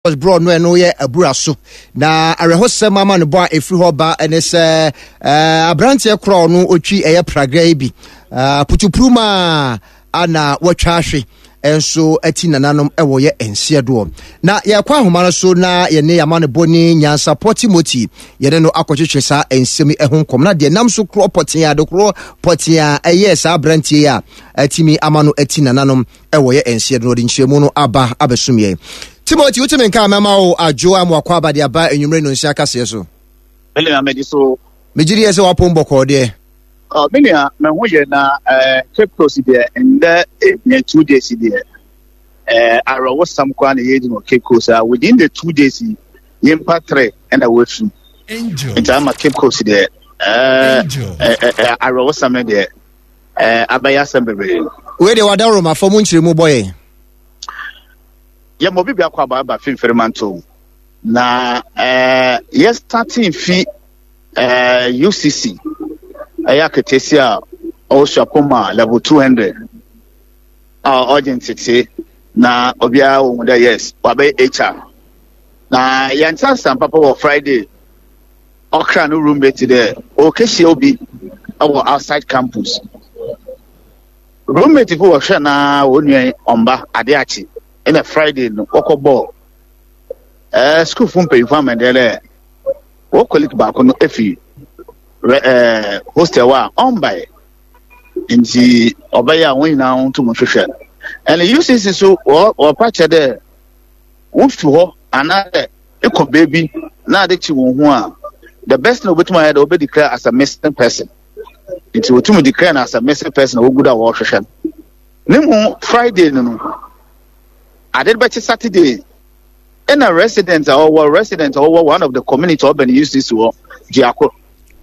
Borɔ no ɛno yɛ abura so na awerɛhosɛm ama no bɔ a ɛfiri hɔ ba ne sɛ aberanteɛ korɔ no ɔtwi ɛyɛ pragra yi bi putupuru ma ana wɔatwa ahwe nso ati nananom ɛwɔ yɛ nseɛ doɔ na yɛkɔ ahoma no so na yɛne yɛama no bɔ ne nyansapɔ timothy yɛne no akɔtwetwe saa nsɛm yi ho nkɔm na deɛ nam so korɔ pɔtee ade korɔ pɔtee a ɛyɛɛ saa aberanteɛ yi a atumi ama no ati nananom ɛwɔ yɛ nseɛ do na ɔde nkyerɛmu no aba abɛsom yɛn. Timothy, wotumi nka mɛma wo adwo a moakɔ aba de aba anwummere no nsia kaseɛ so. Me nua medi so. Megye di yɛ sɛ wapom bɔkɔɔ deɛ. Oh, me nua me ho yɛ na eh, Cape Coast deɛ ndɛ ebien 2 days deɛ eh, awerɛwosɛm koraa na yɛdi no Cape Coast a within the 2 days yi nyimpa three ɛna wɔafi nti ama Cape Coast deɛ eh, eh, eh, awerɛwosɛm no deɛ Eh, abɛyɛ asɛm bebree. Wei deɛ wada Roma fam nkyerɛmu bɔ yɛn. Yɛma obi biako aba aba finfiri manto na eh, yɛ starting fi eh, UCC ɛyɛ akatasi a ɔwɔ Suapoma level 200 a ɔgye ntete na obiara wɔ mu dɛ yes wabɛyɛ HR na yɛn nsa papa wɔ Friday. Ɔkra no roommate dɛ ɔrekehyia obi wɔ outside campus. Roommate fo wɔhwɛ no ara wɔn nua yi ɔmmba, ade akye. Nna Friday no wɔkɔbɔɔ ɛɛ sukuufo mpanyimfo amanneɛ dɛ wɔn colleague baako no efi rɛ ɛɛ hostel hɔ a ɔmmbae. Nti ɔbɛyɛ a wɔn nyinaa ntum nhwehwɛ no. Ɛna UCC so wɔ wɔpa kyɛ dɛ wofi hɔ anaadɛ ekɔ beebi na ade kye wɔn ho a, the best thing obetum ayɛ dɛ wɔbɛ declare as a missing person. Nti wotum declare no as a missing person a wogu do a wɔrehwehwɛ no. Ne mu Friday no no, ade bɛkye Saturday, ɛna resident a ɔwɔ resident a ɔwɔ one of the community ɔbɛn UCC hɔ, Jiako.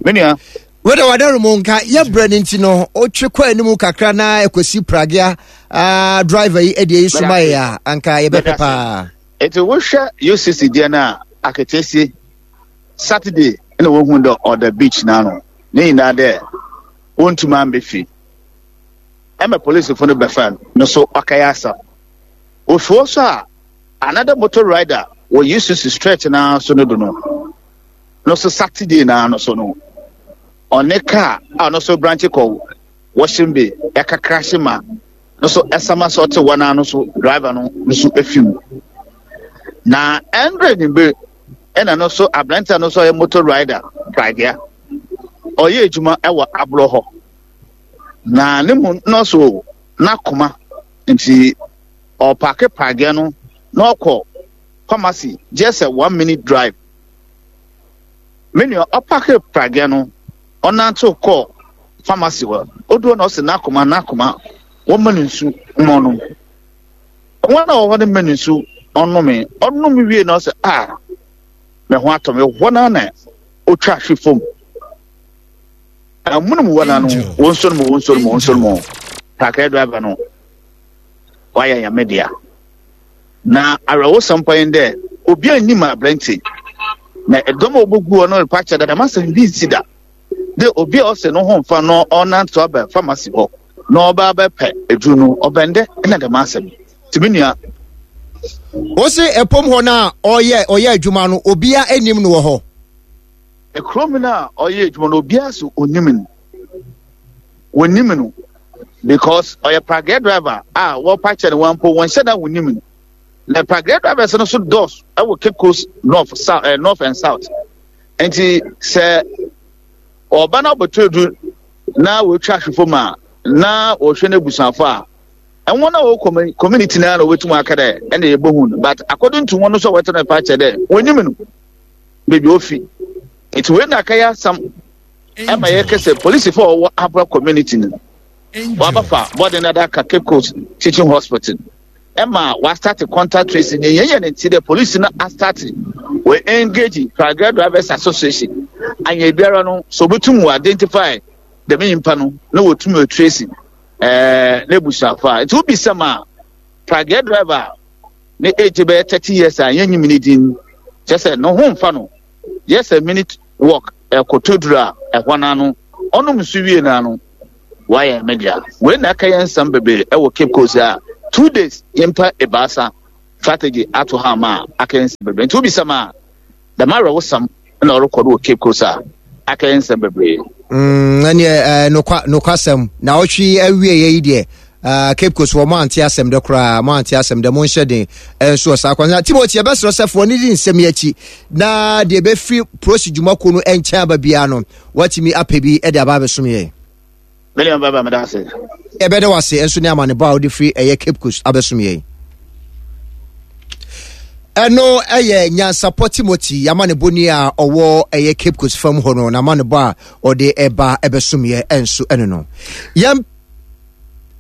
Me nua. Wede wadaro mu nka yɛbrɛ no nti no wotwe kɔ anim kakra na ɛkɔsi pragea uh, driver yi ɛdeɛ yi soma yɛ a anka yɛbɛpɛ paa. Nti wohwɛ UCC deɛ no a aketesie Saturday na wohu dɛ ɔda beach n'ano ne nyinaa dɛ wontumi ambɛ fie ɛma polisifo no bɛfa no no so ɔkɛyɛ asɛm. Ofi hɔ so a another motor rider wɔ UCC stretch naa so no do no no so Saturday naa no so no ɔne car a ɔno so branch kɔ Washing Bay ɛka crash ma no so ɛsama sɛ ɔte wɔn ano so driver no no so efi mu na ɛndre ne bere ɛna no so aberante no so ɔyɛ motor rider pragea ɔyɛ adwuma ɛwɔ aborɔ hɔ na ne mu no so n'akoma nti ɔpaake pragea no na ɔkɔ pharmacy just a 1 minute drive. Me nua ɔpaake pragea no ɔnantsew kɔɔ pharmacy hɔ. Odur hɔ na ɔse n'akoma n'akoma wɔmma no nsu ma ɔnom. Hɔn a wɔwɔ hɔ no ma no nsu ɔnomee. Ɔnom wie na ɔse ah me ho atɔ me. Hɔ no ara na otwa hwe famu. Amonom hɔ no ara no wonsuo no mu wonsuo no mu wonsuo no mu. Taxi driver no wayɛ Nyame dea. Na awerɛhosɛm pa nye dɛ obiara nnyim aberantsɛ yi. Na dɔm a wobogu hɔ no repa kyɛw dɛ dɛm asɛm yi bi nnsi da. Dɛ obi a ɔse no ho mmfa no ɔnantsew aba pharmacy hɔ na ɔba abɛpɛ edur no, ɔbɛn dɛ nna dɛm asɛm yi. Ntsi me nua. Wose ɛpom hɔ no a ɔyɛ ɔyɛ adwuma no obia nnim no wɔ hɔ? Kurom no a ɔyɛ adwuma no obiara so onnim no. Wonnim no because ɔyɛ pragea driver a wɔpa kyɛ no wɔn mpo wɔnhyɛ da wonnim no. Na pragea drivers no so dɔɔso ɛwɔ Cape Coast North, South, eh, North and South. Nti sɛ ɔba na ɔbɛtɔ edu na wɔatwa ahwe fam a na wɔhwɛ no abusuafo a ɛwɔn a wɔwɔ community naa na wɔbɛtum aka dɛ ɛna yɛbɛhu no, but according to wɔn nso a wɔte no pa kyɛ dɛ wɔnyim no baabi ofi. Nti wei na akɛyɛ asɛm ɛma yɛkɛ sɛ polisifo a wɔwɔ Abra community no wɔabɛfa bɔden no adaka Cape Coast Teaching Hospital ɛma wɔastarte contact tracing. Ne yɛn yɛ ne nti dɛ polisi no astarte wɔ engage Pragea Drivers Association anyɛ biara no so obetum wɔ identify dɛm nyimpa no na wɔtum wɔ trace n'ebusuafo a. Nti wobisa ma Pragea driver ne age bɛyɛ 30 years a yɛnyim ne din kyerɛ sɛ ne ho mfa no just a minute walk ɛkɔtɔ duru a ɛhɔ n'ano ɔnom nso wie n'ano wayɛ media. Wei na ɛka yɛn nsɛm bebree ɛwɔ Cape Coast a 2 days nyimpa 3. Strategy ato ha ama a akɛyɛ nsɛm bebree. Nti wobisa me a, dɛm awerɛhosɛm na ɔrokɔ do wɔ Cape Coast a akɛyɛ nsɛm bebree. Mm, ɛneɛ eh, nokwa nokwasɛm na ɔtwe awieɛ yi deɛ uh, Cape Coast wɔ mo ante asɛm dɛ koraa mo ante asɛm dɛ mo nhyɛ den nso wɔ saa kwan na Timothy yɛbɛsrɛ sɛ foɔ ne di nsɛm yi akyi na deɛ ɛbɛfiri prosi dwumakuo no nkyɛn aba biara no watumi apɛ bi de aba abɛsom yɛn. Me nua bɛba meda ase. Yɛbɛda wo ase nso ne amanebɔ a wode firi ɛyɛ Cape Coast abɛsom yɛn. Ɛno ɛyɛ Nyansapɔ Timothy amanebɔni a ɔwɔ ɛyɛ Cape Coast fam hɔ no n'amanebɔ a ɔde ɛba ɛbɛsom yɛ ɛnso ɛno no. Yɛn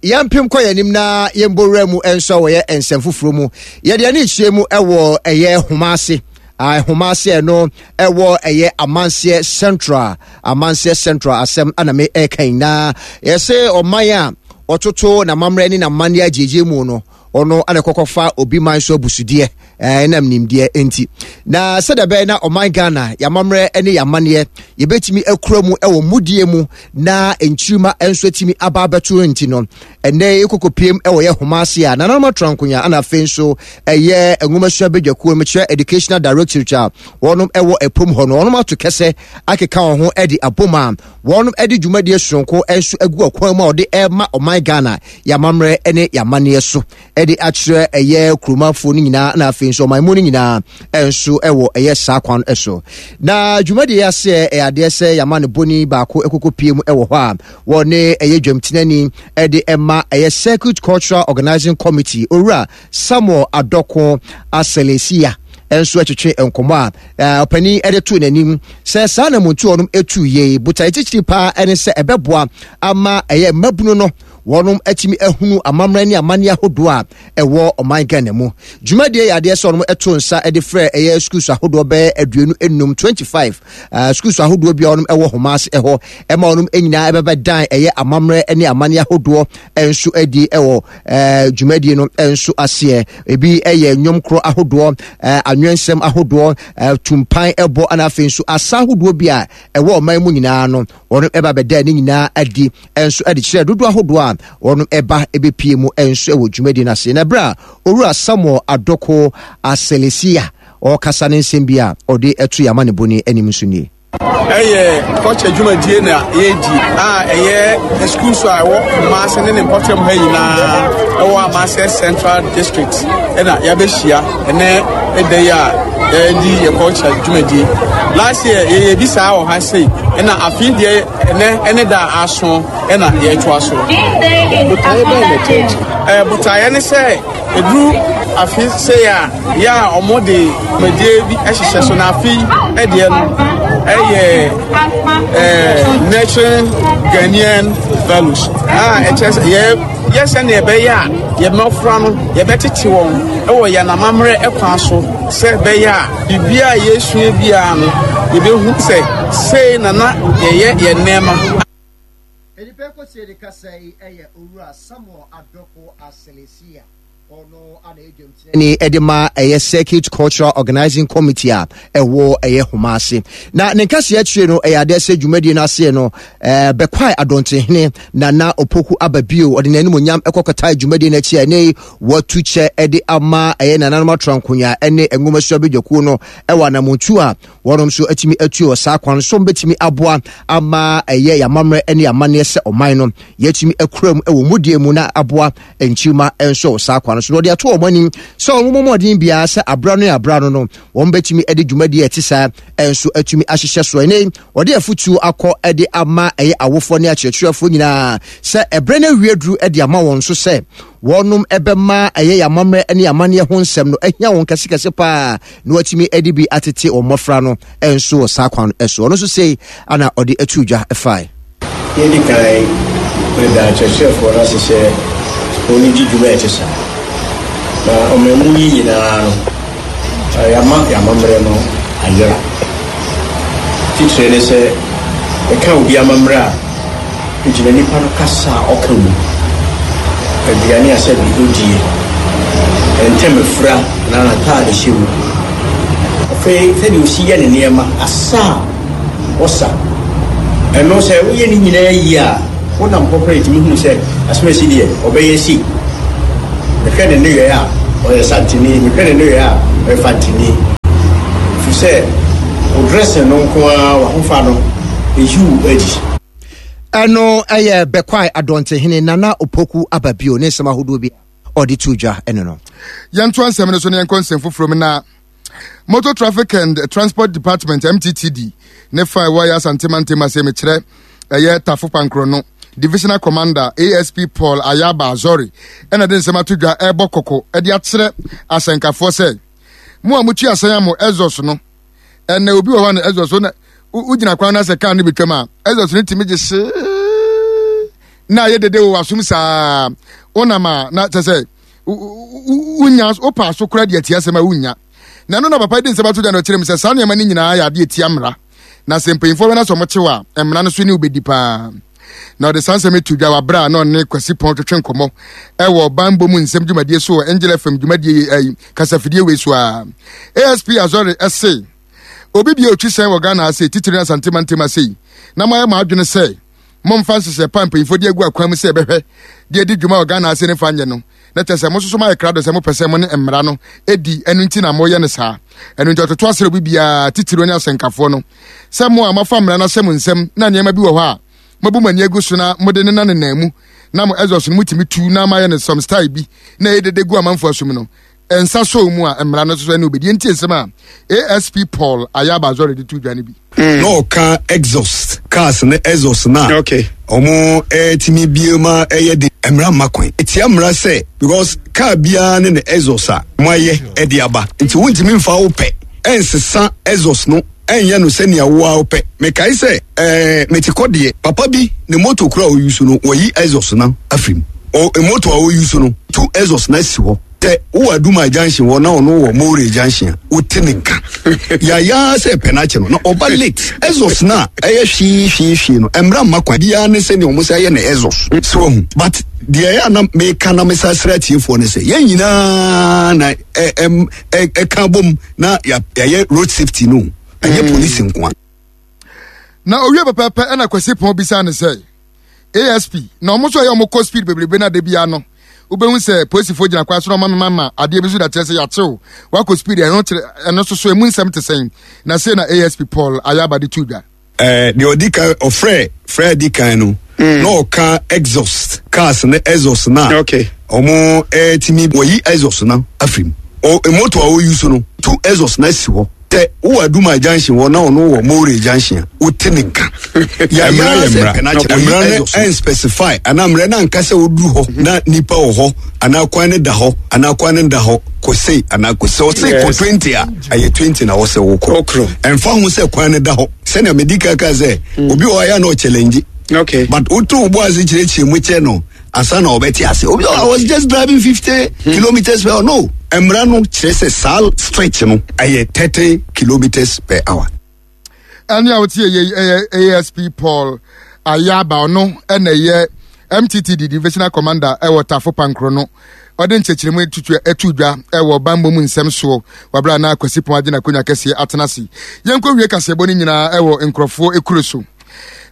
yɛmpem kɔ yɛn anim na yɛmbɔ wura mu nso a wɔyɛ nsɛm foforɔ mu. Yɛde ani kyerɛ mu ɛwɔ ɛyɛ homa ase. Nhoma ase ɛno ɛwɔ ɛyɛ amanseɛ central amanseɛ central asɛm ana me ɛka yi na yɛsɛ ɔman a ɔtoto n'amammerɛ ne n'amanneɛ agyegye mu no ɔno ana kɔkɔfa obi man so abusudeɛ ɛnam nimdeɛ nti na sɛdeɛ ɛbɛyɛ na ɔman Ghana yɛamammerɛ ne yɛamanneɛ yɛbɛtumi akura mu ɛwɔ mudie mu na nkyirima nso atumi aba abɛto nti no Ɛnnɛ yi kɔkɔpiem wɔ yɛ homa ase a nananom atra nkonya ana afei nso ɛyɛ nwomasua badwakuo no mekyerɛ Educational Directorate a wɔnom ɛwɔ ɛpom hɔ no wɔnom ato kɛsɛ akeka wɔn ho de abom a wɔnom de dwumadie soronko nso agu ɔkwan mu a wɔde ɛma ɔman Ghana yɛamammerɛ ne yɛamanneɛ so de akyerɛ ɛyɛ kuromanfoɔ no nyinaa na afei nso ɔman mu no nyinaa nso wɔ ɛyɛ saa kwan so na dwumadie aseɛ ɛyɛ adeɛ sɛ yɛama no bɔni baako ɛkɔkɔ pie mu ɛwɔ hɔ a wɔne ɛyɛ dwamtenani ɛde ɛma ɛyɛ Circuit Cultural Organizing Committee owura Samuel Adɔko Aselesia nso ɛtwetwe nkɔmɔ a ɔpanin ɛde to n'anim sɛ saa na muntu ɔnom etu yie botae titiri paa ɛne sɛ ɛbɛboa ama ɛyɛ mmabunu no wɔnom atumi ahunu amammerɛ ne amanneɛ ahodoɔ a ɛwɔ ɔman Ghana mu. Dwumadie yɛ adeɛ sɛ wɔnom ɛto nsa de frɛ ɛyɛ schools ahodoɔ bɛyɛ 25, 25 uh, schools ahodoɔ bi a wɔnom ɛwɔ homa ase ɛhɔ ɛma wɔnom nyinaa ɛbɛbɛ dan ɛyɛ amammerɛ ne amanneɛ ahodoɔ nso adi ɛwɔ ɛɛ dwumadie no nso aseɛ. Ebi ɛyɛ nnwom korɔ ahodoɔ, ɛɛ anwensɛm ahodoɔ, ɛɛ tumpan ɛbɔ ɛna afei nso asa ahodoɔ bi a ɛwɔ ɔman mu nyinaa no wɔn ɛba bɛda ne nyinaa adi nso de kyerɛ dodoɔ ahodoɔ a wɔn ɛba ɛbɛpie mu nso wɔ dwumadie no ase. Na ɛberɛ a Owura Samuel Adoko Aselesia ɔrekasa ne nsɛm bi a ɔde ɛto yɛn amanebɔni anim nso nie. Ɛyɛ kɔkyɛ dwumadie na yɛredi a ɛyɛ sukuu so a ɛwɔ Kumase ne ne mpɔtam ha nyinaa ɛwɔ Amanseɛ Central District ɛna yɛabɛhyia ɛnɛ ɛda yi a yɛredi yɛ culture dwumadie. Last year yɛyɛ bi saa wɔ ha sei ɛna afei deɛ ɛnɛ ɛne da a aso ɛna yɛretoa so. Botaeɛ bɛn na ɛtɔ akyi? Ɛɛ botaeɛ ne sɛ ɛduru afe sei a yɛ a wɔn de dwumadie bi hyehyɛ so na afe yi ɛdeɛ no ɛyɛ ɛɛ nurturing Ghanaian values a ɛkyerɛ sɛ yɛ yɛ sɛnea ɛbɛyɛ a yɛn mmɔfra no yɛbɛtete wɔn wɔ yɛn amammerɛ kwan so sɛ ɛbɛyɛ a biribiara a yɛsua biara no yɛbɛhu sɛ sei na na yɛyɛ yɛn nneɛma. Nnipa ɛkɔsie de kasa yi yɛ Owura Samuel Adoko Aselesia. Ɔno ana ɛyɛ dwamtenani ɛde ma ɛyɛ Circuit Cultural Organizing Committee a ɛwɔ ɛyɛ Homa ase. Na ne nkaseɛ akyire no ɛyɛ adeɛ sɛ dwumadie no aseɛ no ɛɛ Bɛkwae Adɔntenhene Nana Opoku aba bio ɔde n'animonyam ɛkɔkɔtae dwumadie no akyi a ɛnɛ yi watu kyɛ ɛde ama ɛyɛ nananom atrankonya ɛne nwomasua badwakuo no ɛwɔ anamontuo a wɔnom nso atumi atu wɔ saa kwan so bɛtumi aboa ama ɛyɛ yɛamammerɛ ne amanneɛ sɛ ɔman no yɛatumi akura mu ɛwɔ mudie mu na aboa nkyirima nso wɔ saa kwan so na wɔde ato wɔn anim sɛ wɔn mmɔ mmɔden biara sɛ abra no abra no no wɔn bɛtumi de dwumadie a ɛte saa nso atumi ahyehyɛ so. Ɛnɛ wɔde afutuo akɔ de ama ɛyɛ awofoɔ ne akyerɛkyerɛfoɔ nyinaa sɛ ɛberɛ no awie duru de ama wɔn nso sɛ wɔnom ɛbɛma ɛyɛ yɛn amammerɛ ne amanneɛ ho nsɛm no ahia wɔn kɛsekɛse paa na wɔatumi de bi atete wɔn mmɔfra no nso wɔ saa kwan no so. Ɔno nso sei ana ɔde atu dwa fae. Yɛdi kan reda akyerɛkyerɛfoɔ no ase sɛ wɔredi dwuma a ɛte saa. Na ɔman mu yi nyinaa no, yɛama yɛn amammerɛ no ayera. Titire ne sɛ, yɛka obi amammerɛ a, ɛgyina nipa no kasa a ɔka mu, aduane a sɛbi ɔdie, ntɛm afira anaa n'ataadehyɛ mu. Afei sɛdeɛ ɔsi yɛ ne nneɛma, asa a Ɔsa. Ɛno sɛ woyɛ ne nyinaa yie a, wonam hɔ koraa yɛtumi hunu sɛ asomasi deɛ ɔbɛyɛ sei. Mehwɛ ne nneyɔɛ a, Ɔyɛ Santini, mehwɛ ne nneyɔɛ a, ɔyɛ Fantini. Ɛfiri sɛ, wo dressing no nko ara, w'ahofa no, ɛyi wo adi. Ɛno yɛ Bɛkwae Adɔntehene Nana Opoku Ababio ne nsɛm ahodoɔ bi a ɔde too dwa ɛno no. Yɛntoa nsɛm no so na yɛnkɔ nsɛm foforɔ mu na Motor Traffic and Transport Department MTTD ne fa ɛwɔ yɛ Asante mantam ase mekyerɛ ɛyɛ Tafo Pankorɔ no Divisional Commander ASP Paul Ayaba Azori ɛna de nsɛm ato dwa ɛrebɔ kɔkɔ ɛde akyerɛ asɛnkafoɔ sɛ mo a motua asɛn a mo exhaust no ɛnna obi wɔ hɔ a na exhaust no wogyina kwan no asɛ kaa no betwam a exhaust no tumi gye hyee na ayɛ dede wɔ w'asom saa wonam a na kyɛ sɛ wonya wopɛ aso koraa de atia asɛm a wonnya na ɛno na papa de nsɛm ato gya na ɔkyerɛ mu sɛ saa nneɛma no nyinaa yɛ adeɛ tia mmara na sɛ mpanyinfoɔ bɛ na sɛ ɔmo a mmara no so ne wobɛdi paa na ɔde saa nsɛm to dwa wɔ abere a na ɔne Kwasi Pɔn twetwe nkɔmmɔ ɛwɔ banbɔ mu nsɛm dwumadie so wɔ Angel FM dwumadie yi ayi kasafidie wei so a ASP Azɔre ɛse obi bia otwi sɛn wɔ Ghana ase titiri na Asante mantam ase yi na moayɛ mo adwene sɛ momfa nhyehyɛ pa mpanyinfoɔ de agu akwan mu sɛ ɛbɛhwɛ de adi dwuma wɔ Ghana ase ne fa nyɛ no na kyerɛ sɛ mo nso so moayɛ krado sɛ mopɛ sɛ mo ne mmara no di ɛno nti na moyɛ no saa ɛno nti ɔtoto asrɛ obi biara titiriw ne asɛnkafoɔ no sɛ mo a moafa mmara no ahyɛ mo nsam na nneɛma bi wɔ hɔ a moabu mo ani agu so na mode ne nanenam mu na mo exhaust no mutumi tu na moayɛ no some style bi na ɛyɛ dede gu amanfoɔ asom no nsa sɔɔ mu a mmara no nso ɛne obedi nti nsɛm a ASP Paul Ayaba Azore de to dwa no bi. Mm. Na ɔka exhaust cars ne exhaust na okay. ɔmo ɛtumi eh, bie ma ɛyɛ de mmara mma kwan etia mmara sɛ because car biara ne ne exhaust a mo ayɛ ɛde aba nti wontumi nfa wo pɛ ɛnsesa exhaust no ɛnyɛ no sɛnea wo ara wopɛ. Mekae sɛ, ɛɛ, mete kɔ deɛ, papa bi ne moto koro a ɔyi so no, wɔyi exhaust no afiri mu. Ɔ, moto a ɔyi so no, tu exhaust no asi hɔ. Sɛ wowɔ Adumai junction hɔ na ɔno wɔ More junction a, wote ne nka. Yaya sɛ pɛ no akyɛ no, na ɔba late. Exhaust no a ɛyɛ hwee hwee hwee no, mmra mma kwan biara ne sɛnea wɔn sɛ ayɛ no exhaust. So wahu? But deɛ ɛyɛ a na meka na mesa srɛ atiefoɔ ne sɛ, yɛn nyinaa na ɛ, ɛ, ɛ, ɛka bom na yɛayɛ road safety no ɛnyɛ mm. polisi nkoa. Na owie pɛpɛɛpɛ ɛna Kwasi Pɔn bisa ne sɛ ASP na ɔmo nso ɛyɛ ɔmo kɔ speed bebrebe na de bia no wobɛhu sɛ polisifoɔ gyina kwan so na ɔma mema ma adeɛ bi so da kyerɛ sɛ yɛakyew wakɔ speed ɛno kyerɛ ɛno soso emu nsɛm te sɛn na sei na ASP Paul Ayaba de to dwa. Eh, deɛ ɔdi kan ɔfrɛ frɛ di kan no mm. na ɔka exhaust cars ne exhaust na okay. ɔmo ɛtumi wɔyi exhaust na afiri mu moto a ɔyi so no tu exhaust na asi hɔ tɛ wowɔ aduma junction hɔ na ɔno wɔ more junction a wote ne nka yɛayɛ sɛ pɛnakyɛ mmara no ɛnspecify anaa mmara no anka sɛ woduru hɔ mhm. na nipa wɔ hɔ anaa kwan no da hɔ anaa kwan no da hɔ kɔ sei anaa kɔ sɛ ɔse kɔ 20 a ɛyɛ 20 na wɔsɛ wokɔ ɛmfa ho sɛ kwan no da hɔ sɛnea medi kan ka sɛ mm. obi wɔ ayɛ na ɔchallenge okay. but woto wo bo ase kyerɛkyerɛ mu kyɛ no ansa na ɔbɛte ase obi i was just driving 50 hmm. kilometers per hour no mmara no kyerɛ sɛ saa stretch no ɛyɛ 30 kilometers per hour Ɛne a wotie yɛ ɛyɛ ASP Paul Ayaba ɔno ɛna ɛyɛ MTTD Divisional Commander ɛwɔ Tafo Pankoro no ɔde nkyɛkyerɛmu tutu ɛtu dwa ɛwɔ banbɔ mu nsɛm soɔ wabra na Kwasi Pɔn agye n'akonnwa kɛseɛ atena ase yɛnkɔ wie kaseɛbɔ no nyinaa ɛwɔ nkurɔfoɔ ekuro so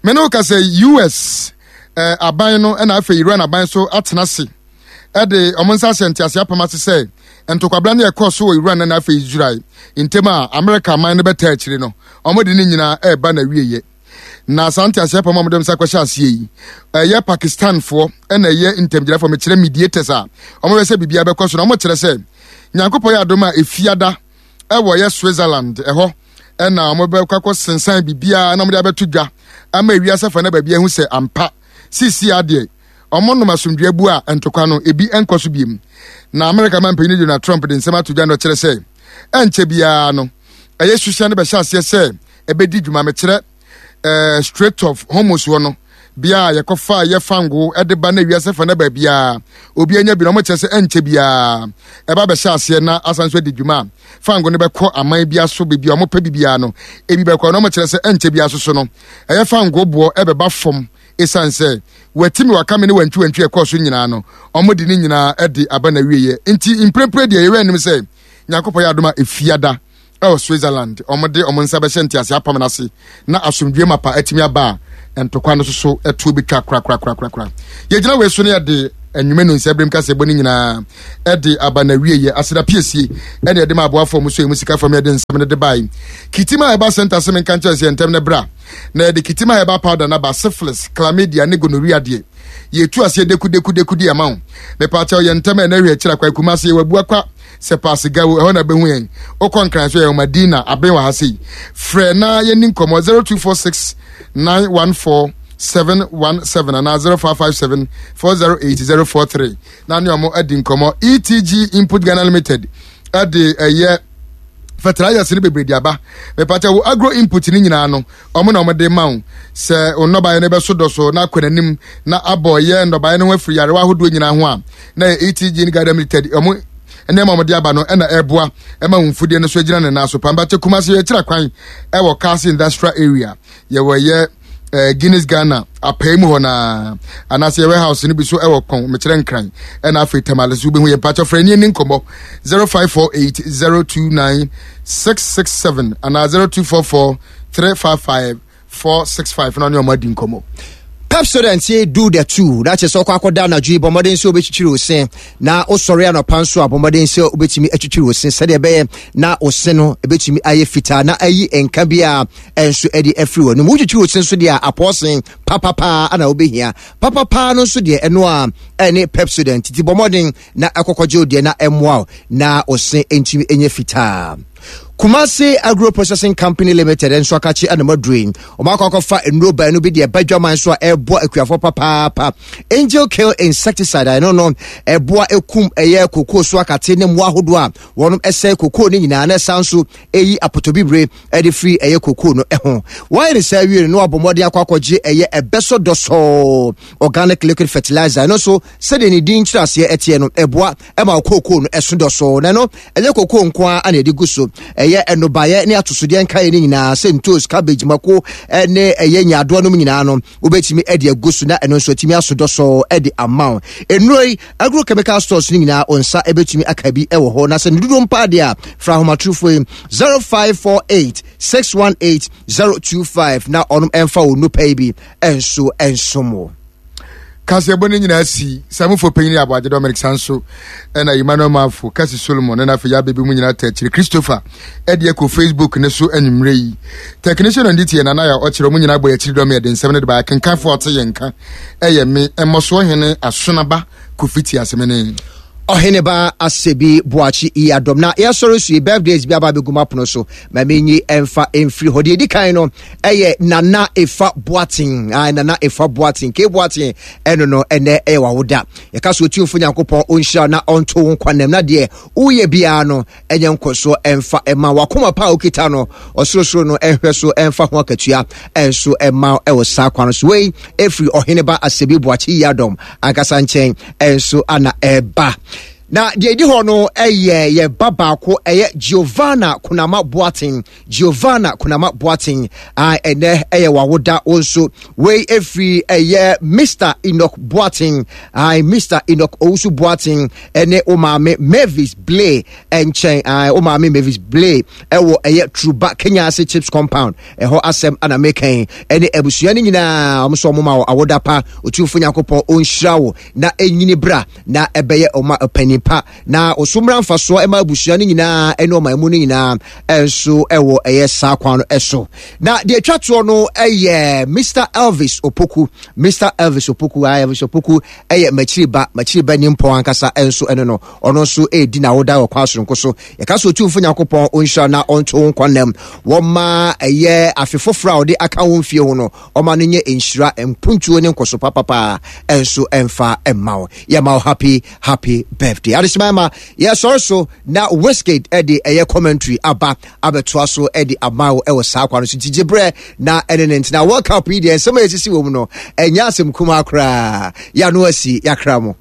mene wo kasa US eh, aban no ɛna afei Iran aban so atena ase de wɔn nsa ahyɛ ntease apam ase sɛ ntokwabra no ɛkɔɔ so wɔ Iran na afei Israel ntam a Amerika aman no bɛtaa akyire no, wɔde ne nyinaa ɛreba n'awieɛ. Na saa ntease apam a wɔde nsa kɔhyɛ aseɛ yi, ɛyɛ Pakistanfoɔ ɛna ɛyɛ ntamgyinafoɔ, mekyerɛ mediators a wɔbɛ sɛ biribiara bɛkɔ so na wɔkyerɛ sɛ Nyankopɔn yɛ adom a efiada ɛwɔ yɛ Switzerland ɛhɔ ɛna wɔbɛkɔ akɔ sensan biribiara na wɔde abɛto dwa ama ewiase afa na baabi ahu sɛ ampa sisi adeɛ Wɔnom asomdwoe abu a ntɔkwa no, ebi nkɔ so biom. Na Amerika manpanyin Donald Trump de nsɛm ato dwa na ɔkyerɛ sɛ ɛnkyɛ biara no, ɛyɛ suhyɛn no bɛhyɛ aseɛ sɛ ɛbɛdi dwuma. Mekyerɛ eh, Strait of Hormuz hɔ no, bea a yɛkɔfa yɛ fango de ba na wiase fa na baabiara obi anya bi na wɔkyerɛ sɛ ɛnkyɛ biara ɛba bɛhyɛ aseɛ na asan so adi dwuma a fango no bɛkɔ aman bi aso baabi a wɔpɛ bibiara no ebi bɛkɔ na wɔkyerɛ sɛ ɛnkyɛ biara soso no ɛyɛ fango boɔ ɛbɛba fam Esiane sɛ wɔati me wɔaka me ne wantwiwantwi a ɛkɔɔ so nyinaa no, wɔde ne nyinaa de aba n'awieeɛ. Nti mprempren deɛ yɛwɛ anim sɛ Nyankopɔn yɛ adom a Efiada wɔ Switzerland wɔde wɔn nsa bɛhyɛ ntease apam no ase na asomdwoe mapa atumi aba a ntɔkwa no soso ɛtoɔ bɛtwa korakorakorakora. Yɛgyina wei so no yɛde Anwumɛ no nsɛbrem kaseɛbɔ no nyinaa ɛde aba na wieɛ. Aseda piesie ɛne ɛde ma aboafoɔ mu so emu sika fam yɛde nsɛm no de bae. Kitima Herbal Center se menka nkyerɛ sɛ ntɛm no bra na yɛde Kitima Herbal Powder no aba syphilis, chlamydia ne gonorrhea deɛ yɛtu aseɛ deku deku deku di ama wo. Mepaakyɛw yɛ ntɛm ɛna hwɛ akyira kwa Kumase yɛwɔ abua kwa sɛ paase gawo ɛhɔ na bɛhu yɛn. Wokɔ Nkran so yɛwɔ Madina aben wɔ ha sei. Frɛ na yɛni nkɔmmɔ 0246 914 717 anaa 0557 408 043 na ne ɔmo adi nkɔmmɔ. ETG Input Ghana Limited ɛde ɛyɛ fertilizers no bebree de aba. Mepatɛ wo agro input no nyinaa no ɔmo na ɔmo de ma wo sɛ wo nnɔbaeɛ no bɛso dɔ so na akɔ n'anim na abɔ yɛ nnɔbaeɛ no ho afiri yarewa ahodoɔ nyinaa ho a na yɛ ETG Ghana Limited ɔmo nneɛma ɔmo de aba no ɛna ɛboa ɛma wo mfudeɛ no so agyina ne nan so pambakyɛ Kumasi yɛkyerɛ kwan ɛwɔ Kasi Industrial Area yɛwɔ yɛ eh, Guinness Ghana apɛɛ mu hɔ naa anaasɛ yɛ warehouse no bi so ɛwɔ kɔn mekyerɛ nkran ɛna afei tamale so wobɛhu yɛ mpakyɛ frɛ ne ani nkɔmmɔ 0548 029 667 anaa 0244 355 465 na ɔne ɔmo adi nkɔmmɔ. Pepsodent say do the two na kyerɛ sɛ ɔkɔ akɔda anadwo yi bɔ mmɔden sɛ wobɛtwitwiri wo se na wosɔre anɔpa nso a bɔ mmɔden sɛ wobɛtumi atwitwiri wo se sɛdeɛ ɛbɛyɛ na wo se no ɛbɛtumi ayɛ fitaa na ayi nka bi a ɛnso ɛde afiri w'anum wotwitwiri wo se nso deɛ a apɔɔsen papapaa ana wobɛhia papapaa no nso deɛ ɛno a ɛne Pepsodent ti bɔ mmɔden na ɛkɔkɔgye wo deɛ na ɛmmoa wo na wo se ntumi nyɛ fitaa. Kumasi Agro Processing Company Limited nso akakye anam aduro yi. Wɔn akɔ akɔfa nnuro baanu bi deɛ ɛba dwaman so a ɛreboa akuafoɔ papaapa. Angel Kill Insecticide a ɛno no ɛboa ekum ɛyɛ kokoo so akate ne mmoa ahodoɔ a wɔn ɛsɛe kokoo no nyinaa na ɛsan nso ɛyi apotobibire ɛde firi ɛyɛ kokoo no ɛho. Wɔayɛ ne saa awie no na wɔabɔ mmɔden akɔ akɔgye ɛyɛ ɛbɛsɔ dɔsɔɔ organic liquid fertilizer ɛno nso sɛdeɛ ne din nkyerɛaseɛ ɛteɛ no ɛboa ɛma kookoo no ɛso dɔsoo na ɛno ɛnyɛ kookoo nko ara na ɛde gu so ɛyɛ ɛnobaeɛ ne atosodeɛ nkaeɛ no nyinaa sɛ ntos cabbage mako ɛne ɛyɛ nyaadoa nom nyinaa no wobɛtumi ɛde agu so na ɛno nso atumi aso dɔsoo ɛde ama wo nnuro yi agrochemical stores no nyinaa wo nsa ɛbɛtumi aka bi ɛwɔ hɔ na sɛ ne dodoɔ mpa deɛ a fra ahomatorofo yi 0548 618 025 na ɔnom ɛmfa wo nnupa yi bi ɛnso ɛnsom wo. Kaseɛbɔ no nyinaa si samufo panyin yɛ Aboagye Dominic Sanso ɛna Emmanuel Mafo, Kasi Solomon ɛna afei yɛabɛbi mu nyinaa ta akyire Christopher ɛde ɛkɔ Facebook ne so anwummerɛ yi. Technician on duty yɛ Nana yɛ ɔkyerɛ ɔmo nyinaa bɔ yɛ akyiri dɔm yɛde nsɛm no de ba akenkanfoɔ ɔte yɛn nka ɛyɛ me mmɔsoɔ hene Asonaba Kofi Tiasemene. Ɔheneba Asebi Boakye Yiadom na yɛsɔre so yi birthdays bi aba abɛgu m'apono so ma menyi ɛmfa mfiri hɔ. Deɛ ɛdi kan no ɛyɛ Nana Efa Boateng. Ah, Nana Efa Boateng, K Boateng ɛno no ɛnɛ ɛyɛ wawoda. Yɛka so Otumfo Nyankopɔn ɔnhyira na ɔnto wo nkwa nam na deɛ woyɛ biara no ɛnyɛ nkɔsoɔ ɛmfa ɛma wakoma pa a wokita no ɔsorosoro no ɛnhwɛ so ɛmfa ho akatua ɛnso ɛma ɛwɔ saa kwan so. Wei ɛfiri Ɔheneba Asebi Boakye Yiadom ankasa nkyɛn ɛnso ana ɛba. Na deɛ ɛdi hɔ no ɛyɛ yɛ ba baako ɛyɛ Giovanna Kunama Boateng. Giovanna Kunama Boateng a ɛnɛ ɛyɛ wawoda wo nso. Wei ɛfiri ɛyɛ Mr. Enoch Boateng, a Mr. Enoch Owusu Boateng ɛne wo maame Mavis Blay ɛnkyɛn, a wo maame Mavis Blay ɛwɔ ɛyɛ Truba Kenya ase Chips Compound. Ɛhɔ asɛm ana mekɛn ɛne abusua no nyinaa wɔn nso wɔn ma wɔ awoda pa. Otumfo Nyankopɔn ɔnhyira wo na ɛnyini bra na ɛbɛyɛ ɔma ɔpanin pa na ɔso mmra mfasoɔ ɛma abusua no nyinaa ɛne ɔman mu no nyinaa ɛnso ɛwɔ ɛyɛ saa kwan no ɛso. Na deɛ atwa toɔ no ɛyɛ Mr. Elvis Opoku. Mr. Elvis Opoku, ah, Elvis Opoku ɛyɛ makyiri ba, makyiri ba nimpɔn ankasa ɛnso ɛno no ɔno nso ɛredi n'awoda wɔ kwan soronko so. Yɛka sɛ Otumfo Nyankopɔn ɔnhyira na ɔnto wo nkwa nnam wɔma ɛyɛ afe foforɔ a ɔde aka wo mfie ho no ɔma no nyɛ nhyira mpuntuo ne nkɔso papapaa ɛnso ɛmfa ɛmma wo. Yɛma wo happy happy birthday. Adehyema ma yɛsɔre so na Wizkid ɛde ɛyɛ commentary aba abɛtoa so ɛde ama wo ɛwɔ saa kwan so. Nti gye berɛ na ɛne ne ntena. World Cup yi deɛ nsɛm a ɛsisi wɔ mu no ɛnyɛ asɛm kumaa koraa. Yɛano asi yɛakra mo.